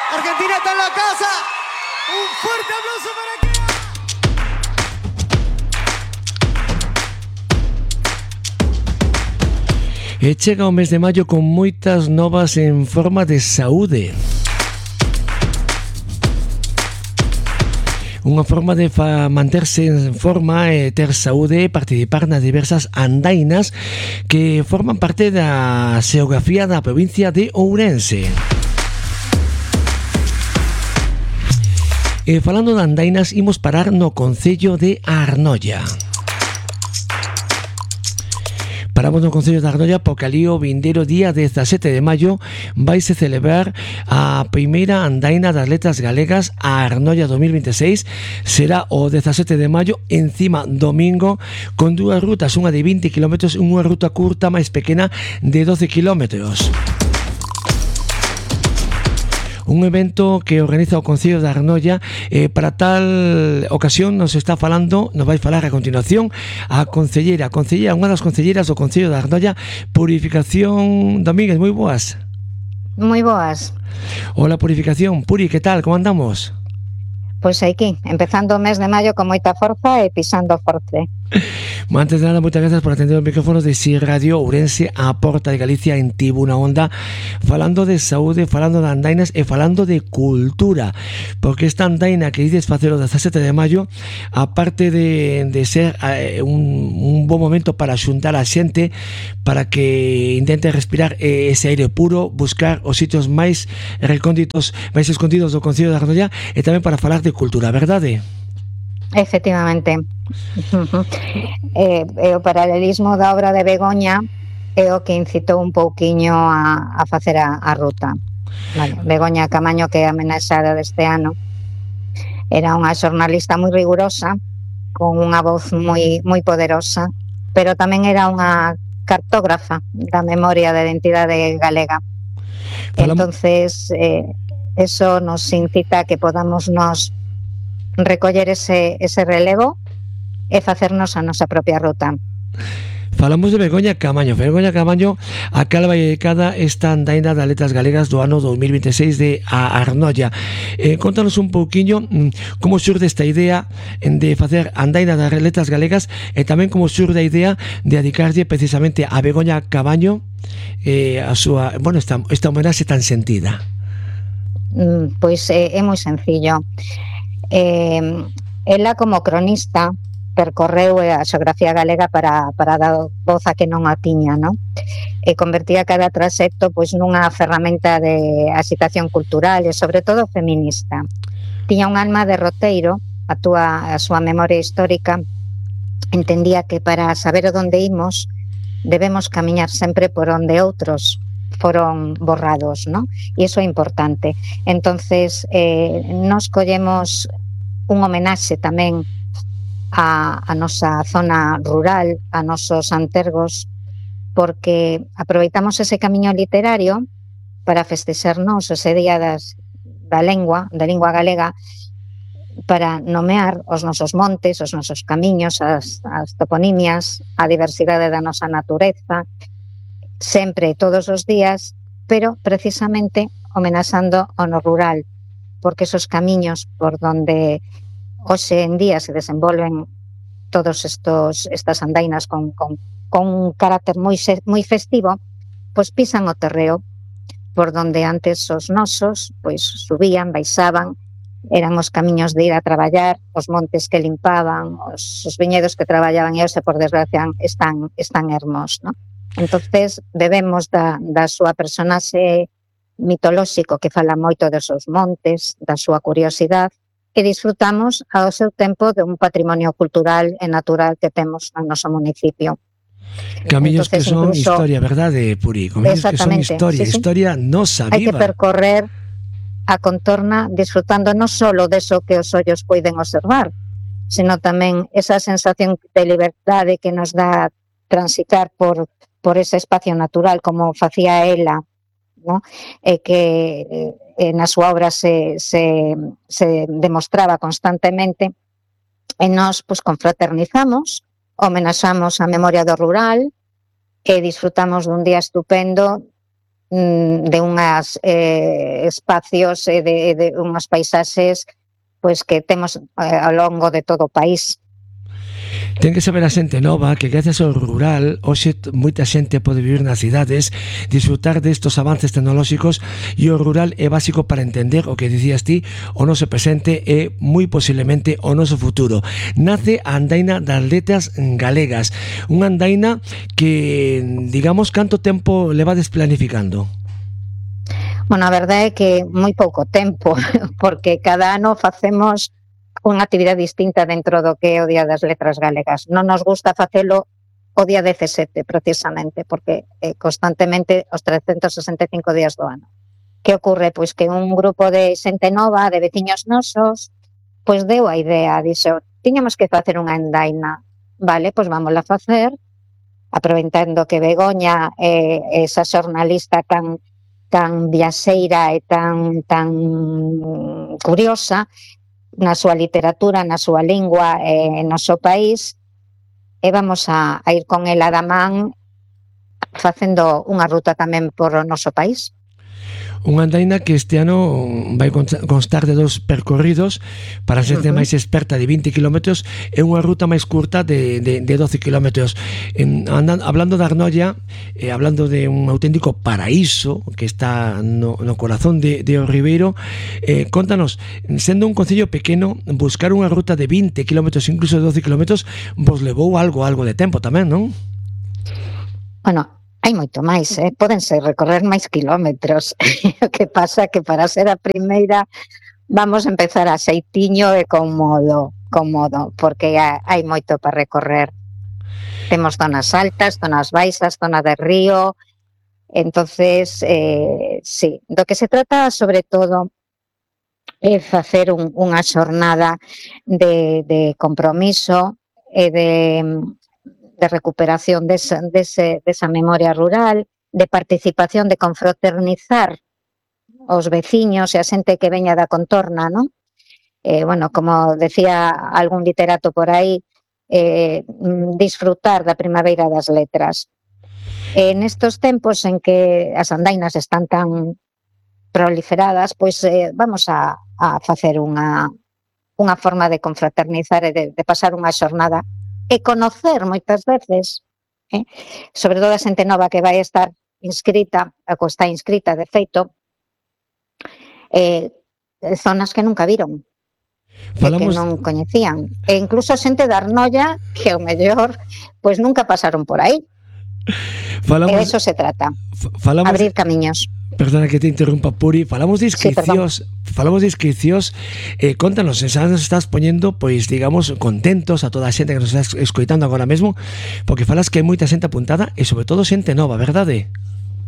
Argentina está en la casa. Un fuerte aplauso para que... E chega o mes de maio con moitas novas en forma de saúde. Unha forma de manterse en forma e ter saúde e participar nas diversas andainas que forman parte da xeografía da provincia de Ourense. E falando de andainas, imos parar no concello de Arnoia. Paramos no concello de Arnoia porque ali o vindeiro día 17 de maio vaise celebrar a primeira andaina das letras galegas a Arnoia 2026. Será o 17 de maio, encima domingo, con dúas rutas, unha de 20 km e unha ruta curta máis pequena de 12 km. Un evento que organiza o Concello de Arnoia. Para tal ocasión nos vai falar a continuación a concelleira, unha das concelleiras do Concello de Arnoia, Purificación Domínguez. Moi boas. Moi boas. Hola, Purificación. Puri, que tal? Como andamos? Pois aquí, empezando o mes de maio con moita forza e pisando forte. Antes de nada, moitas gracias por atender os micrófonos de Si Radio Ourense, a porta de Galicia en Tribuna Onda, falando de saúde, falando de andainas e falando de cultura, porque esta andaina que dices facer o 17 de maio, aparte de ser un bon momento para xuntar a xente, para que intente respirar ese aire puro, buscar os sitios máis recónditos, máis escondidos do Concello de Arnoia, e tamén para falar de cultura, verdade? Efectivamente. O paralelismo da obra de Begoña é o que incitou un pouquiño a facer a ruta. Vale. Begoña Camaño, que é a homenaxeada deste ano, era unha xornalista moi rigurosa, con unha voz moi poderosa, pero tamén era unha cartógrafa da memoria da identidade galega. Entonces, eso nos incita a que podamos nos recoller ese relevo e facernos a nosa propia ruta. Falamos de Begoña Camaño. Begoña Camaño, a cal vai dedicada esta andaina das letras galegas do ano 2026 de Arnoia. Contanos un pouquiño como xurde esta idea de facer andaina das letras galegas e tamén como xurde a idea de dedicarlle precisamente a Begoña Camaño a súa, esta homenaxe tan sentida. Pois é moi sencillo. Ela, como cronista, percorreu a xeografía galega para dar voz a que non a tiña, non? E convertía cada trayecto pois nunha ferramenta de agitación cultural e sobre todo feminista. Tiña un alma de roteiro, a súa memoria histórica entendía que para saber onde imos debemos camiñar sempre por onde outros foron borrados, ¿no? E iso é importante. Entonces, nos collemos un homenaxe tamén a nosa zona rural, a nosos antergos, porque aproveitamos ese camiño literario para festexarnos ese día da lingua galega, para nomear os nosos montes, os nosos camiños, as toponimias, a diversidade da nosa natureza, sempre, todos os días, pero precisamente homenaxando ao no rural, porque esos camiños por donde hoxe en día se desenvolven todos estas andainas con un carácter moi festivo, pois pisan o terreo por donde antes os nosos pois subían, baixaban, eran os camiños de ir a traballar, os montes que limpaban, os viñedos que traballaban, e hoxe, por desgracia, están ermos, non? Entonces, bebemos da súa personaxe mitolóxico que fala moito dos seus montes, da súa curiosidade, e disfrutamos ao seu tempo de un patrimonio cultural e natural que temos no noso municipio. Camiños que son historia, verdade, Puri? Camiños que son historia, sí. Historia nosa, viva. Hai que percorrer a contorna disfrutando non só deso que os ollos poden observar, sino tamén esa sensación de liberdade que nos dá transitar por ese espacio natural, como facía ela, ¿no? E que na súa obra se demostraba constantemente, e nós pues, confraternizamos, homenaxamos a memoria do rural e disfrutamos dun día estupendo de unhas espacios e de unhas paisaxes pois que temos ao longo de todo o país. Ten que saber a xente nova que gracias ao rural hoxe moita xente pode vivir nas cidades, disfrutar destos avances tecnolóxicos, e o rural é básico para entender o que dicías ti, o noso presente e moi posiblemente o noso futuro. Nace a Andaina das Letras Galegas, unha andaina que, digamos, canto tempo levades planificando? Bueno, a verdade é que moi pouco tempo, porque cada ano facemos unha actividade distinta dentro do que é o Día das Letras Galegas. Non nos gusta facelo o día 17, precisamente, porque constantemente os 365 días do ano. Que ocorre? Pois que un grupo de xente nova, de veciños nosos, pois deu a idea, dixo, tiñamos que facer unha andaina. Vale, pois vámola a facer, aproveitando que Begoña é esa xornalista tan viaxeira e tan curiosa na súa literatura, na súa lingua e no seu país, e vamos a ir con ela da man facendo unha ruta tamén por o noso país. Unha andaina que este ano vai constar de 2 percorridos para a xente máis experta de 20 km e unha ruta máis curta de 12 km. Hablando de Arnolla, hablando de un auténtico paraíso que está no corazón de O Ribeiro, contanos, sendo un concello pequeno, buscar unha ruta de 20 km, incluso de 12 km, vos levou algo de tempo tamén, non? Bueno, hai moito máis, pódense recorrer máis kilómetros. O que pasa que para ser a primeira vamos a empezar a xeitiño e con modo, porque hai moito para recorrer. Temos zonas altas, zonas baixas, zona de río, entonces, sí, do que se trata sobre todo é facer unha xornada de compromiso e de recuperación desa memoria rural, de participación, de confraternizar os veciños e a xente que veña da contorna, non? Bueno, como decía algún literato por aí, disfrutar da primavera das letras. Nestos tempos en que as andainas están tan proliferadas, pois vamos a facer unha forma de confraternizar e de pasar unha xornada e conocer moitas veces, sobre todo a xente nova que vai estar inscrita, ou está inscrita de feito, zonas que nunca viron, que non coñecían, e incluso xente da Arnolla que ao mellor pois nunca pasaron por aí. E de eso se trata, abrir camiños. Perdona que te interrumpa, Puri. Falamos de inscricións, contanos, xa nos estás poñendo, pois, digamos, contentos a toda a xente que nos estás escoitando agora mesmo, porque falas que hai moita xente apuntada e sobre todo xente nova, verdade?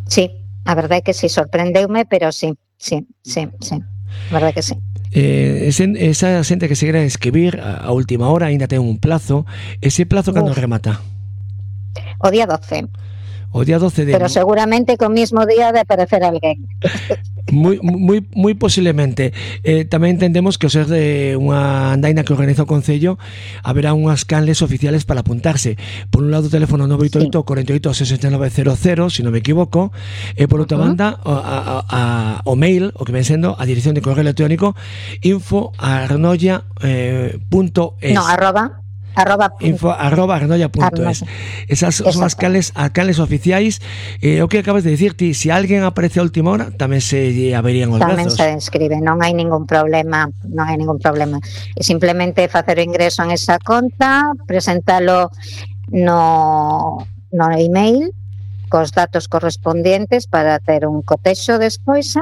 Sí, a verdade é que sí, sorprendeume, pero sí, a verdade que sí. Esa xente que se quere inscribir a última hora aínda ten un plazo. Ese plazo cando remata? O día 12. O día 12 de... Pero seguramente co mismo día de aparecer alguén. Moi posiblemente. Tamén entendemos que ao ser de unha andaina que organiza o Concello haberá unhas canles oficiales para apuntarse. Por un lado o teléfono 988 48 6900, se non me equivoco, e por outra banda o mail, o que ven sendo a dirección de correo electrónico info@arnolla.es. No, info@arnolla.es. Esas son as canles oficiais. O que acabas de dicir ti, se alguén aparece a última hora, tamén se abrirían os tamén brazos. se inscribe, non hai ningún problema. E simplemente facer o ingreso en esa conta, presentalo no email cos datos correspondientes para ter un cotexo despois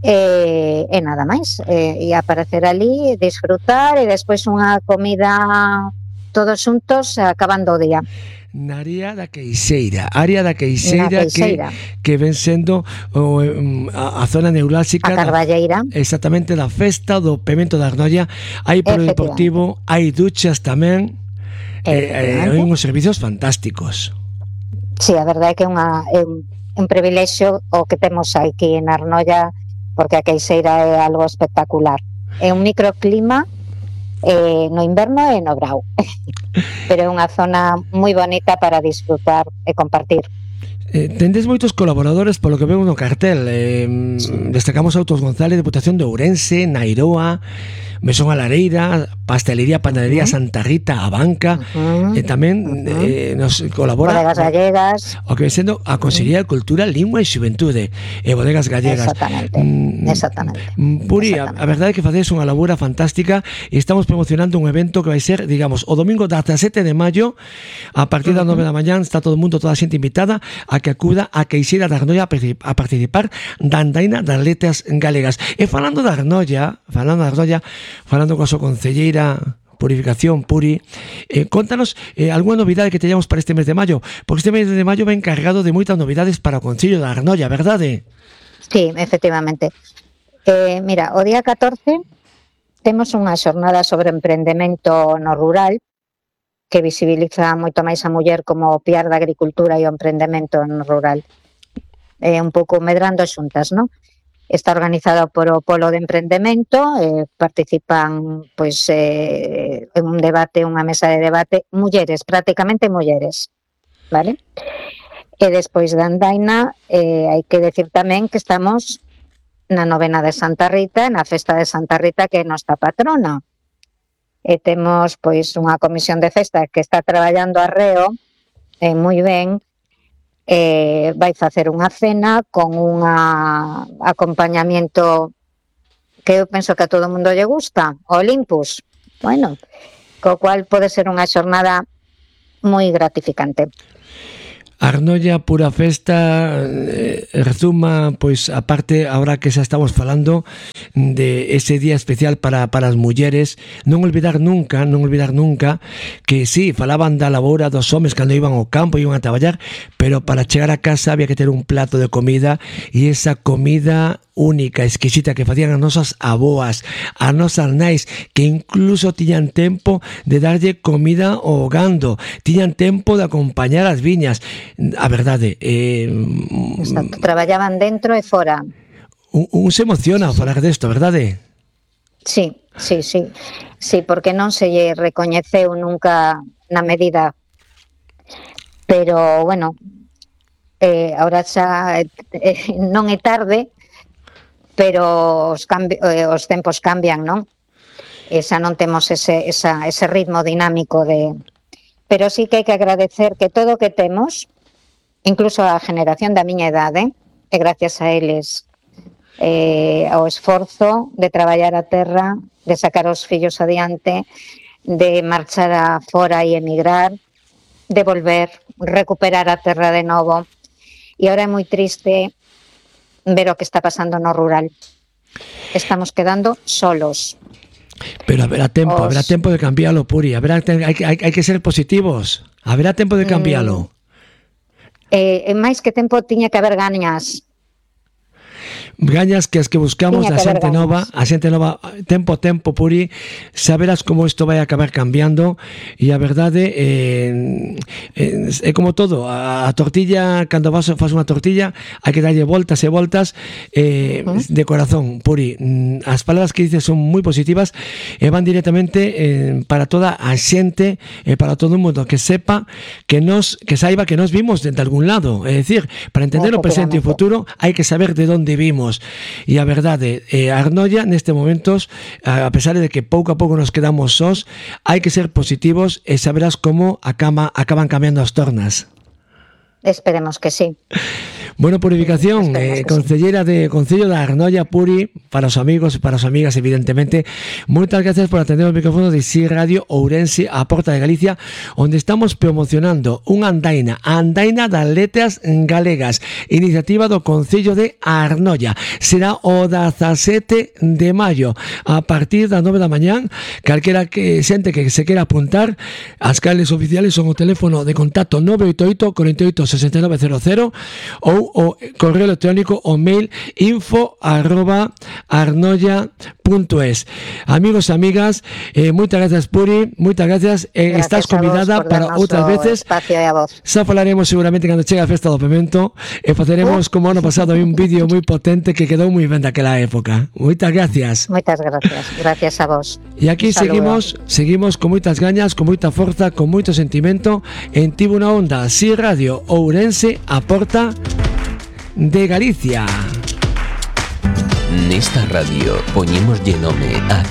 e nada máis, e aparecer ali, disfrutar e despois unha comida todos xuntos acabando o día. Na área da Queixeira que ven sendo a zona neurálxica, a Carballeira, exactamente, da festa do Pemento da Arnolla. Hai polideportivo, hai duchas tamén, hai uns servicios fantásticos. Sí, a verdade é que é un privilexio o que temos aquí en Arnolla, porque a Queixeira é algo espectacular. É un microclima no inverno e no brao, pero é unha zona moi bonita para disfrutar e compartir. Tendes moitos colaboradores polo que vemos no cartel. Destacamos Autos González, Deputación de Ourense, Nairoa, Mesón a Lareira, Pastelería, Panadería Santa Rita, a Banca, tamén nos colabora Bodegas Gallegas, o que ven sendo a Consellería de Cultura, Lingua e Xuventude e Bodegas Gallegas. Exactamente. Puri, a verdade é que facedes unha labura fantástica e estamos promocionando un evento que vai ser, digamos, o domingo 17 de maio a partir das 9 da mañán. Está todo o mundo, toda a xente invitada a que acuda a Queixeira da Arnoia a participar da andaina das letras galegas. E falando da Arnoia, falando coa súa concelleira Purificación, Puri, contanos algunha novidade que teñamos para este mes de maio, porque este mes de maio va encargado de moitas novidades para o Concello da Arnoia, verdade? Sí, efectivamente. Mira, o día 14 temos unha xornada sobre emprendemento no rural que visibiliza moito máis a muller como o piar da agricultura e o emprendemento no rural. Un pouco medrando xuntas, non? Está organizado por o Polo de Emprendemento, participan pois en un debate, unha mesa de debate, mulleres, prácticamente mulleres, vale? E despois da andaina, hai que decir tamén que estamos na novena de Santa Rita, na festa de Santa Rita, que é nosa patrona. E temos pois unha comisión de festa que está traballando arreo, moi ben, vai facer unha cena con un acompañamiento que eu penso que a todo o mundo lle gusta, Olympus. Bueno, co cual pode ser unha xornada moi gratificante. Arnoia, pura festa, resuma, pois, a parte, ahora que xa estamos falando de ese día especial para as mulleres, non olvidar nunca que sí, falaban da labora dos homes cando iban ao campo, iban a traballar, pero para chegar a casa había que ter un plato de comida, e esa comida única, exquisita que facían as nosas aboas, as nosas nais, que incluso tiñan tempo de darlle comida ao gando, tiñan tempo de acompañar as viñas. A verdade, exacto, traballaban dentro e fora. Un se emociona ao falar desto, verdade? Sí, porque non se lle recoñeceu nunca na medida, pero bueno, ahora xa non é tarde, pero os tempos cambian, non? E xa non temos ese ritmo dinámico de... Pero sí que hai que agradecer que todo o que temos, incluso a generación da miña idade, e gracias a eles ao esforzo de traballar a terra, de sacar os fillos adiante, de marchar a fora e emigrar, de volver, recuperar a terra de novo. E ahora é moi triste ver o que está pasando no rural. Estamos quedando solos. Pero haberá tempo de cambiarlo, Puri. Hai que ser positivos. Haberá tempo de cambiarlo. Máis que tempo tiña que haber gañas. Gañas que as que buscamos da xente nova, a xente nova, tempo a tempo, Puri, saberás como isto vai acabar cambiando. E a verdade é como todo, a tortilla, cando faz unha tortilla hai que darlle voltas e voltas, de corazón, Puri. As palabras que dices son moi positivas e van directamente para toda a xente e para todo o mundo, que sepa que saiba que nos vimos de algún lado. É dicir, para entender o presente e o futuro hai que saber de onde vimos. E a verdade, a Arnoia neste momentos, a pesar de que pouco a pouco nos quedamos sós, hai que ser positivos e saberás como acaban cambiando as tornas. Esperemos que sí. Bueno, Purificación, concelleira de Concello da Arnoia, Puri, para os amigos e para as amigas, evidentemente, moitas gracias por atender o micrófono de Si Radio Ourense, a Porta de Galicia, onde estamos promocionando unha andaina, a andaina das letras galegas, iniciativa do Concello de Arnoia. Será o 17 de maio, a partir das 9 da mañán. Calquera que xente que se quera apuntar, as cales oficiales son o teléfono de contacto 988 48 6900 ou o correo electrónico o mail info@arnoia.es. Amigos, amigas, moitas gracias, Puri, moitas gracias. Estás convidada para outras veces. Xa falaremos seguramente cando chegue a festa do Pemento e faceremos como ano pasado un vídeo moi potente que quedou moi ben daquela época. Moitas gracias. Moitas gracias. Gracias a vos. E aquí seguimos con moitas gañas, con moita forza, con moito sentimento en Tivo unha Onda, Si Radio Ourense, a porta de Galicia. Nesta radio poñémoslle nome a